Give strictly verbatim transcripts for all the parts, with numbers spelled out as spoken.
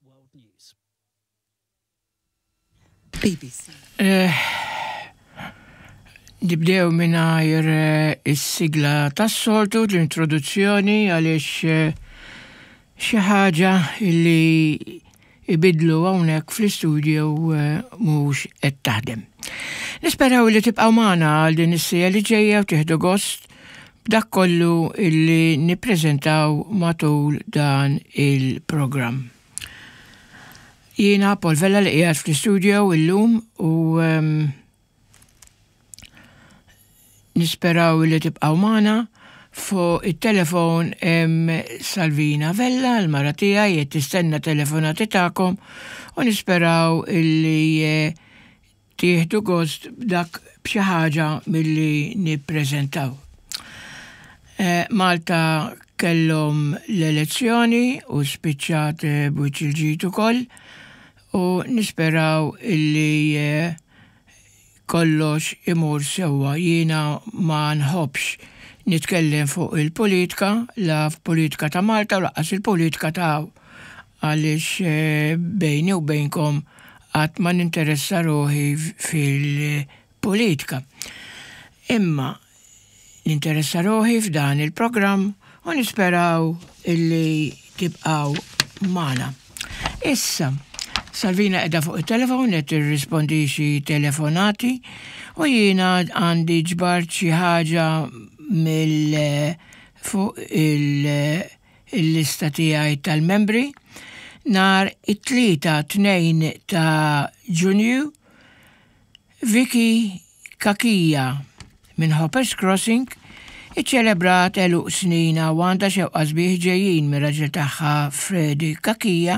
World News. B B C. Eh, Nibdew mingħajr eh, is-sigla tas-soltu, l-introduzzjoni, għaliex eh, xi ħaġa illi ibidlu hawnhekk fl-istudio eh, mhux qed taħdem. Nisperaw li tibqgħu magħna għal din is-siegħa li ġejja u tieħdu gost b'dak kollu illi nippreżentaw matul dan il-programm. Jiena Paul Vella li qiegħed fl-istudio illum u um, nisperaw li tibqaw magħna. Fuq it-telefon hemm Salvina Vella, l-mara tiegħi, qed tistenna telefonati tagħkom u nisperaw illi eh, tieħdu gost b'dak b'xi ħaġa milli nippreżentaw. Eh, Malta kellhom l-elezzjoni u spiċċat eh, b'wiċċ il-ġid ukoll u nisperaw illi eh, kollox imur sewwa. Jiena ma nħobbx nitkellem fuq il-politika, la f'politika ta' Malta u lanqas il-politika ta' għaliex eh, bejni u bejnkom qatt ma ninteressa ruħi fil-politika. Imma ninteressa ruħi f'dan il-programm u nisperaw illi tibqaw magħna. Issa, Salvina qiegħda fuq il-telefon qed tirrispondi xi telefonati u jiena għandi ġbart xi ħaġa mill fuq il-lista tiegħi tal-membri. Nhar it-Tlieta tnejn ta' Ġunju, Vicky Kakija minn Hoppers Crossing iċċelebrat għeluq snina u għandha xewqat sbieħ ġejjin mir-raġel tagħha Freddy Kakija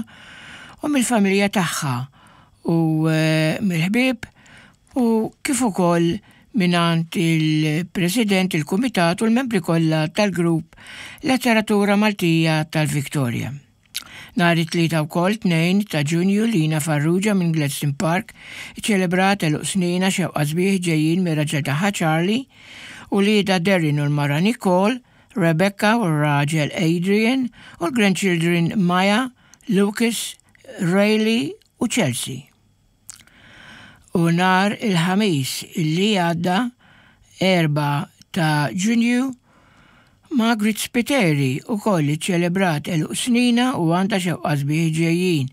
u mill-familja tagħha u eh, mill-ħbieb u kif ukoll mingħand il-President, il-Kumitat u l-membri kollha tal-grupp Letteratura Maltija tal-Victoria. Nhar it-Tlieta wkoll tnejn ta' Ġunju, Lina Farrugia minn Gladstone Park ċelebrat għeluq snina, xewqat sbieħ ġejjin mir-raġel tagħha Charlie u wliedha Darren u l-mara Nicole, Rebecca u r-raġel Adrian u l-grandchildren Maya, Lucas, Rayleigh u Chelsea. U nhar il-Ħamis illi għadda, erbgħa ta' Ġunju, Margaret Spiteri ukoll ċelebrat għeluq snina u għandha xewqat sbieħ ġejjin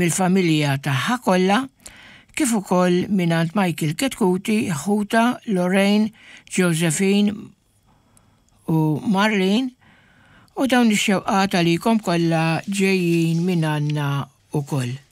mill-familja tagħha kollha kif ukoll mingħand Michael Ketkuti, ħuta Lorraine, Josephine u Marlene, u dawn ix-xewqat għalikom kollha ġejjin minn għandna ukoll.